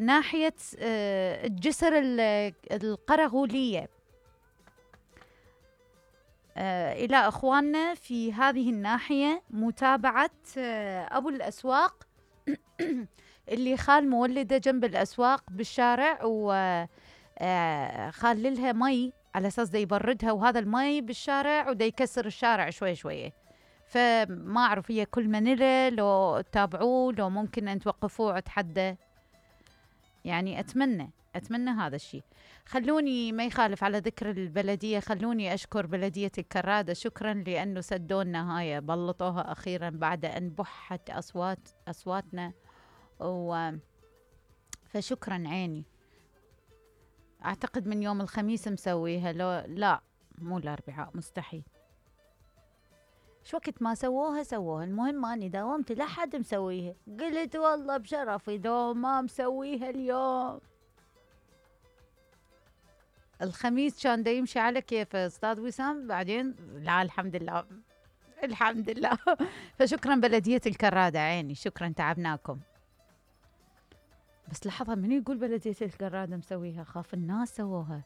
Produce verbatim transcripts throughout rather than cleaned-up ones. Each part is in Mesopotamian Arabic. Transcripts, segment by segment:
ناحية آه الجسر القرغولية. آه إلى أخواننا في هذه الناحية متابعة آه أبو الأسواق اللي خال مولده جنب الأسواق بالشارع، وخال لها مي على أساس دا يبردها، وهذا المي بالشارع ودا يكسر الشارع شوي شوي. فما أعرف هي كل منيلة لو تتابعوه، لو ممكن أن توقفوه وتحدى، يعني أتمنى أتمنى هذا الشيء. خلوني ما يخالف على ذكر البلدية، خلوني أشكر بلدية الكرادة، شكرا لأنه سدونا هاي، بلطوها أخيرا بعد أن بحت أصوات أصواتنا، و فشكرا عيني. أعتقد من يوم الخميس مسويها، لو لا مو الأربعاء مستحيل. شو وقت ما سووها سووها، المهم أني داومت لحد مسويها، قلت والله بشرفي لو ما مسويها اليوم. الخميس كان دا يمشي على كيف أستاذ وسام، بعدين لا الحمد لله الحمد لله. فشكرا بلدية الكرادة عيني، شكرا تعبناكم. بس لحظة، من يقول بلدية الكرادة مسويها؟ خاف الناس سووها.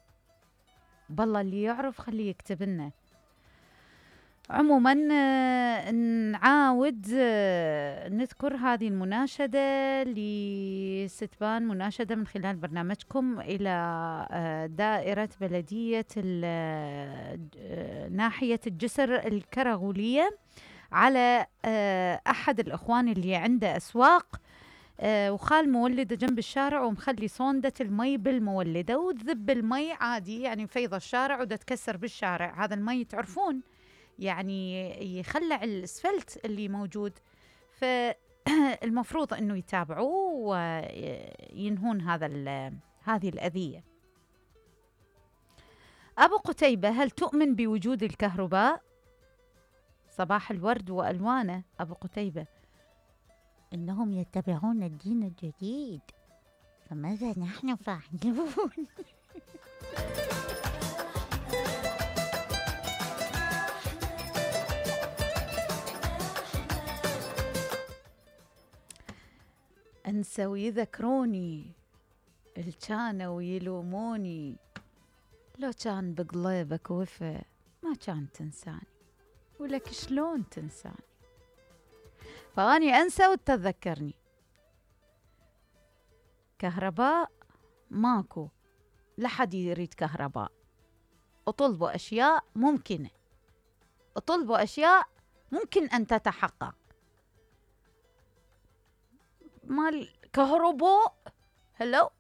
بالله اللي يعرف خليه يكتب لنا. عموما نعاود نذكر هذه المناشدة لستبان، مناشدة من خلال برنامجكم إلى دائرة بلدية ناحية الجسر الكرغولية، على أحد الأخوان اللي عنده أسواق وخال مولده جنب الشارع ومخلي صوندة المي بالمولدة وتذب المي عادي، يعني فيض الشارع وده تكسر بالشارع. هذا المي تعرفون يعني يخلع الاسفلت اللي موجود، فالمفروض انه يتابعوه وينهون هذا هذه الأذية. أبو قتيبة، هل تؤمن بوجود الكهرباء؟ صباح الورد وألوانه أبو قتيبة. إنهم يتبعون الدين الجديد، فماذا نحن فاعلون؟ أنسى ويذكروني، الكانوا ويلوموني، لو كان بقلبك وفا ما كان تنساني، ولك شلون تنساني؟ فأني أنسى وتتذكرني. كهرباء ماكو، لحد يريد كهرباء، اطلبوا أشياء ممكنة، اطلبوا أشياء ممكن أن تتحقق. مال كهرباء هلو